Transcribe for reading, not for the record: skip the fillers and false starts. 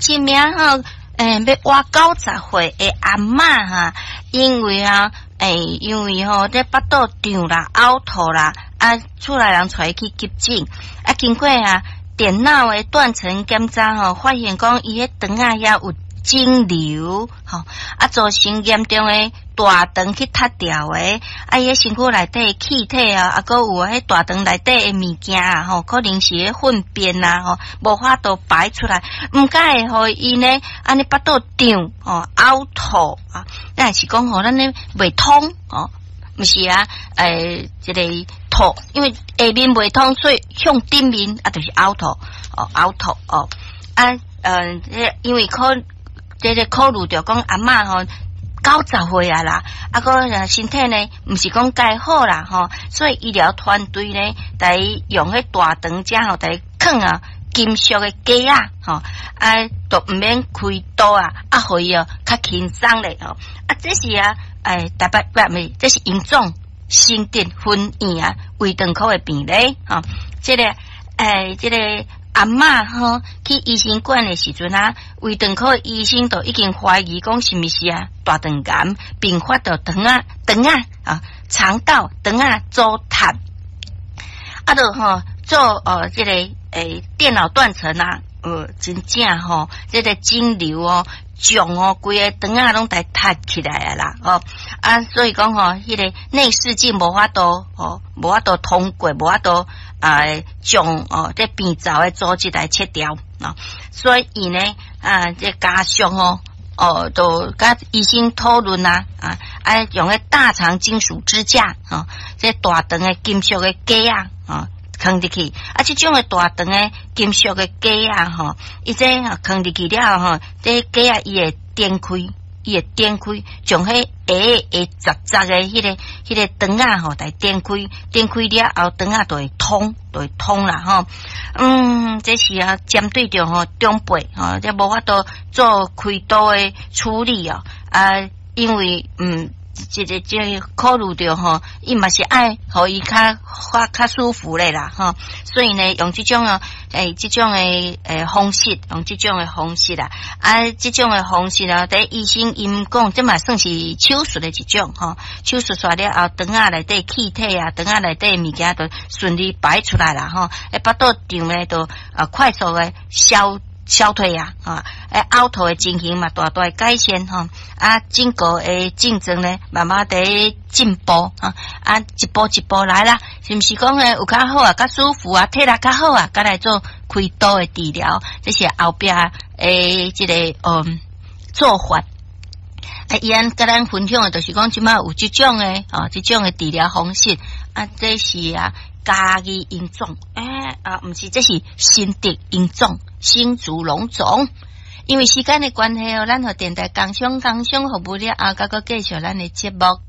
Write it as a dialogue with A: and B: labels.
A: 一名吼，欲活90歲的阿嬤哈，因為啊，因為吼，這腹肚脹啦、嘔吐啦，啊，厝內人帶伊去急診，啊，經過啊電腦的斷層檢查吼，發現講伊彼腸仔遐有腫瘤，吼，啊，造成嚴重的大腸去塌掉的，啊，伊彼身軀內底氣體啊，啊，閣有彼大腸內底的物件啊，吼，可能是彼糞便啊，吼，無法度排出來，毋才會予伊呢，按呢腹肚脹，吼，嘔吐啊，抑是講吼，咱咧袂通，吼，毋是啊，這个吐，因為下面袂通，所以向頂面啊，就是嘔吐，哦，嘔吐，哦，啊，因為可。這个考慮著講阿嬤吼90歲啊啦，啊閣身體呢，毋是講蓋好啦吼，所以醫療團隊呢，共伊用彼大腸遮吼，共伊囥啊金屬的夾仔吼，啊，都毋免開刀啊，啊，予伊哦較輕鬆咧吼，啊，這是啊，台北毋是，這是榮總新竹分院啊胃腸科的病例吼，這个這个。阿嬤吼去醫生館的時陣啊，胃腸科醫生就已經懷疑講是毋是啊大腸癌併發著腸仔腸仔啊腸道腸仔阻塞，啊就吼做哦這个電腦斷層啊，真正吼這个腫瘤哦脹哦，規个腸仔攏共塞起來啊啦，哦啊，所以講吼，彼个內視鏡無法度吼，無法度通過，無法度啊將哦這病灶的組織來切掉啊，所以呢啊，這家屬吼哦，就佮醫生討論啊啊，啊用彼大腸金屬支架吼，這大腸的金屬的夾仔啊。囥入去，啊，這種的大腸的金屬的夾仔吼，伊這囥入去了後吼，這夾仔伊會展開，伊會展開，將彼鞋會雜雜的彼个腸仔吼，來展開，展開了後，腸仔就會通，就會通啦吼。這是啊，針對著吼長輩吼，這無法度做開刀的處理哦，啊，因為這个這考慮著吼，伊嘛是愛予伊較較較舒服咧啦吼，所以呢，用這種哦，這種的方式，用這種的方式啦，啊，這種的方式啊，佇醫生𪜶講，這嘛算是手術的一種吼，手術煞了後，腸仔內底氣體啊，腸仔內底物件都順利排出來啦吼，腹肚脹咧都啊快速的消。消退啊，啊，嘔吐的情形嘛，大大改善吼，啊，整個的症狀呢，慢慢佇進步啊，啊，一步一步來啦，是毋是講呢有較好啊，較舒服啊，體力較好啊，才來做開刀的治療，這是後壁的這个做法。啊，伊按佮咱分享的，就是講這馬有這種的哦，這種的治療方式啊，這是啊。嘉義榮總，啊，毋是，這是新竹榮總，新竹榮總。因為時間的關係哦，咱予電台工商工商服務了後，閣閣繼續咱的節目。